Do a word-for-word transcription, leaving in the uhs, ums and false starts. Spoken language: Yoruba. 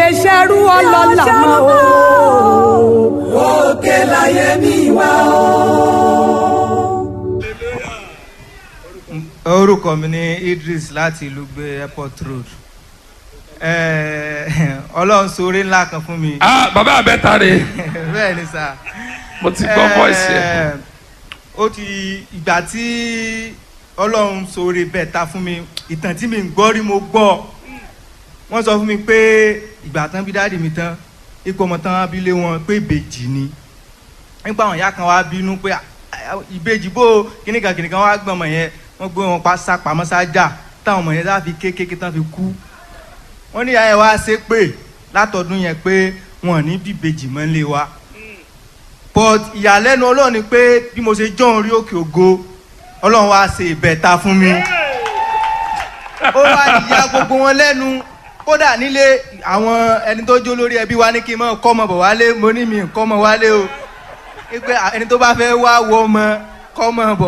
lè ṣerú ọlọ́lá mọ́ o. Òkè láyé mi wá o. Orúkọ mi ni Idris láti Lugbe Airport Road. Eh, Ọlọ́run ṣoore ńlá kan fún mi. Ah, bàbá àbẹ́ta rè. Bẹ́ẹ̀ ni sà. Mo ti gbọ́ voice yẹn. Eh, ó ti ìgbà tí Ọlọ́run ṣoore bẹ́ẹ̀ ta fún mi, ìtàn tí mi ń gbọ́ rí mo gbọ́. Wọ́n sọ fún mi pé ìgbà tán bí dáàdì mi tán, ipò ọmọ tán wá bí lé wọn pé ìbejì ni. Nípa àwọn ìyá kan wá bínú pé, "Ah, ah, ìbejì bó kìnìkan kìnìkan," wá gbọ́n ọmọ yẹn, wọ́n gbé wọn pa sápamọ́ sájà táwọn ọmọ yẹn láfi kékeré tán fi kú. Wọ́n ní ìyá yẹn wá ṣe pé látọdún yẹn pé wọn ò ní bíbejì mọ́ nílé wa. But ìyàlẹ́nu Ọlọ́run ni pé bí mo ṣe jọ́ orí òkè ògo, Ọlọ́run wá ṣe ìbẹ̀ta fún mi. Ó wá ìyá gbogbo wọn lẹ́nu. Kódà nílé àwọn ẹni tó jó lórí ẹbí wa ní kí n mọ̀ kọ́ ọmọ bọ̀ wálé. Mo ní mi kọ́ ọmọ wálé o, pé ẹni tó bá fẹ́ wá wọ ọmọ kọ́ ọmọ bọ̀.